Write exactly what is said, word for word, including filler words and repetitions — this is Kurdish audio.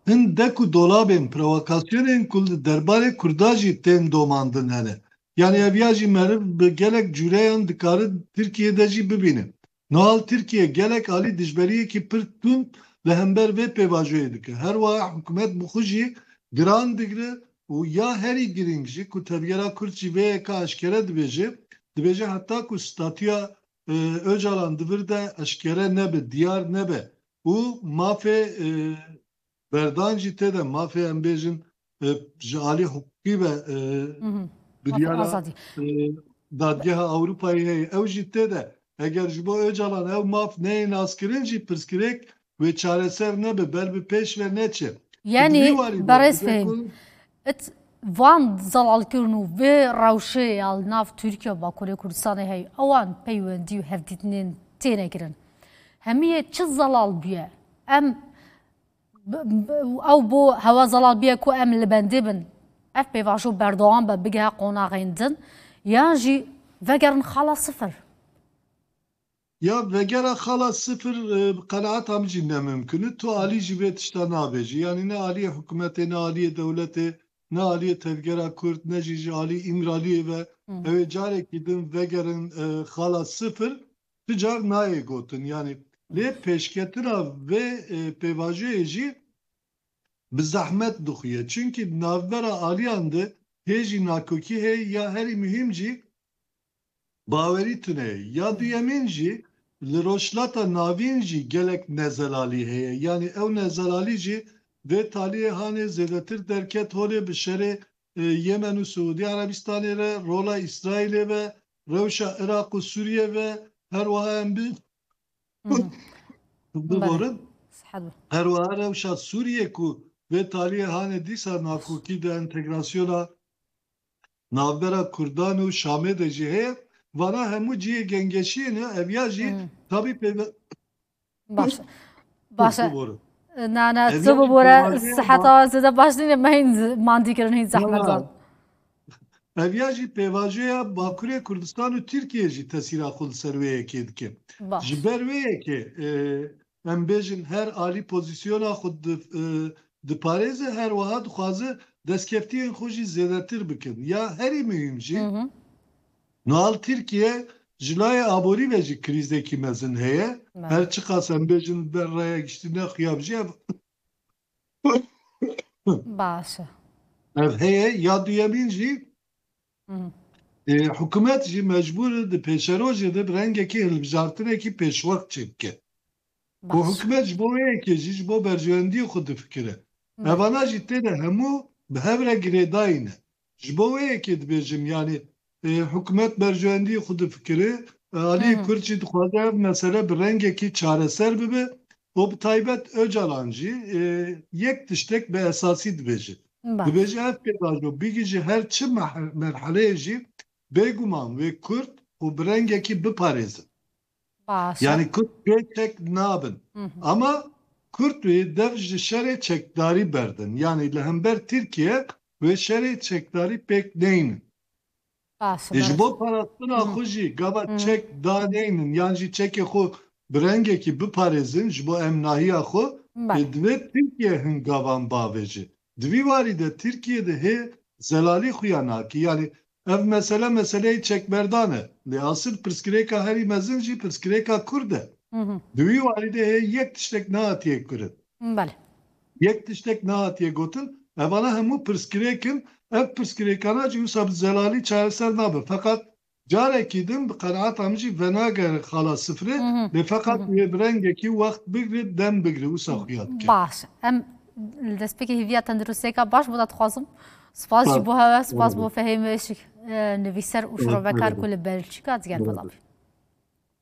hin dek û dolabên provokasyonên ku li derbarê Kurda jî tên domandin hene. Yani ev ya jî meriv bi gelek cûreyan dikare Tirkiye de jî bibîne. Nihal Tirkiye gelek alî dijberiyekî pir tund li hember vê pêvajoyê dike. Her wiha hikûmet bi xwe jî giran digire û ya herî girîng jî ku tevgera Kurd jî vê yeka eşkere dibêje, dibêje heta ku statûya, e, Ocalan di vir de eşkere nebe, diyar nebe û mafê, e, berdan jî tê de, mafê em bêjin, e, ji alî hiqûqî ve, e, Hı hı. Mafê biryara, azadî. e, Dadgeha Ewropayê heye. Ew jî tê de. Eger ji bo Ocalan ew maf neyê naskirin jî pirsgirêk wê çareser nebe, ber bi pêş ve neçe. Yanî, Di vî warî de berêz dibê Fehîm, ku it van zelalkirin û vê rewşê ya li nav Tirkiye û Bakurê Kurdistanê heye, ewan peywendî û hevdîtinên têne kirin. Hemiyê çi zelal bûye? Em b-, b-, ew bo hewa zelal bûye ku em li bendê bin ev pêvajo berdewam be, bigehe qonaxên din, yan jî vegerin xala sifir? Ya vegera xala sifir, e, bi qenaeta min jî ne mimkun e. Tu alî jî vê tişta nabêjî. Yanî ne aliyê hikûmetê, ne aliyê dewletê, ne aliyê tevgera Kurd, ne jî ji alî Îmraliyê ve. Hı. Ew ê carekî din vegerin, e, xala sifir, tu car nayê gotin. Yanî lê pêşketina vê, e, pêvajoyê jî bi zehmet dixuye. Çunkî navbera aliyan de hê jî nakokî heye, ya herî muhîm jî bawerî tune ye. Ya duyemîn jî li Rojhilata Navîn jî gelek nezelalî heye. Yanî ew nezelalî jî vê taliyê hanê zêdetir derket holê bi şerê, e, Yemen û Siûdî Erebistanê re, rola Îsraîlê ve, rewşa Iraq û Sûriye ve, her wiha em bi Hı hı. Biborin. Belê. Sihet be. Her wiha rewşa Sûriye ku vê taliyê hanê dîsa nakokî di entegrasyona navbera Kurdan û Şamê de jî heye, vana hemû cihê gengeşiyê ne, ev ya jî Hı. tabî pêve-, Baş e. Baş e. Biborin. Na, na, Ev tu ya jî bibore, pêvajoya siheta ba- zêde baş nîne, me hîn z-, mandî kirin, hîn zehmet Valla, dan. Ev ya jî pêvajoya Bakurê Kurdistan û Tirkiye jî tesîra xwe li ser wê yekê dike. Baş. Ji ber wê yekê, e, em bêjin her alî pozîsyona xwe di-, e, diparêze, her wiha dixwaze destkeftiyên xwe jî zêdetir bikin. Ya herî muhîm jî, Hı hı. nihal Tirkiye ji layê aborî ve jî krîzekî mezin heye. Belê. Her çiqas em bêjin ber raya giştî nexuya jî ev Baş e. Ev heye, ya duyemîn jî, Hı hı. e, hikûmet jî mecbûr e di pêşerojê de bi rengekî hilbijartinekî pêşwext çêbike. Û Baş. hikûmet ji bo wê yekê jî ji bo berjewendiyê xwe difikire. Belê. Evana jî tê de hemû bi hev re girêdayî ne. Ji bo wê yekê dibêjim, yanî, e, hikûmet berjewendiyê xwe difikire, e, aliyê Hı hı. Kurd jî dixwaze ev mesele bi rengekî çareser bibe û bi taybet Ocalan jî, e, yek tiştek bi esasî dibêje. Baş. Dibêje ev pêvajo bigihîje her çi meh-, merheleyê jî bêguman wê Kurd û bi rengekî biparêzin. Baş e. Yanî Kurd pê çek nabin. Hı hı. Ama Kurd wê dev ji şerê çekdarî berdin. Yanî li hember Tirkiye wê şerê çekdarî pêk neynin. Baş e, Ê, ji baş. bo parastina Hı. xwe jî gava Hı. çek daneynin yan jî çekê xwe bi rengekî biparêzin ji bo emnahiya xwe, Belê. ê, divê Tirkiye hin gavan bavêje. Di vî warî de Tirkiye de hê zelalî xuya nakî. Yanî ev mesele meseleyê çekberdan e. Lê asil pirsgirêka herî mezin jî pirsgirêka Kurd e. Hı hı. Di wî warî de hê yek tiştek nehatiye kirin. Belê. Yek tiştek nehatiye gotin. Evana hemû pirsgirêk in. Ev pirsgirêkana jî wisa bi zelalî çareser nabe. Feqet carekî din bi qenaeta min jî venagere xala sifrê, Hı hı. lê feqet Hı hı. wê bi rengekî wext bigre, dem bigre, wisa xuya dike. Baş. Em li destpêkê hêviya tenduristiyeka baş bo te dixwazim. Spas jî Spas. bo hewe, spas Spas. bo Fehîm Işik, e, nivîser û Spas. şirove kar ku li Belçîka digel Spas. belav.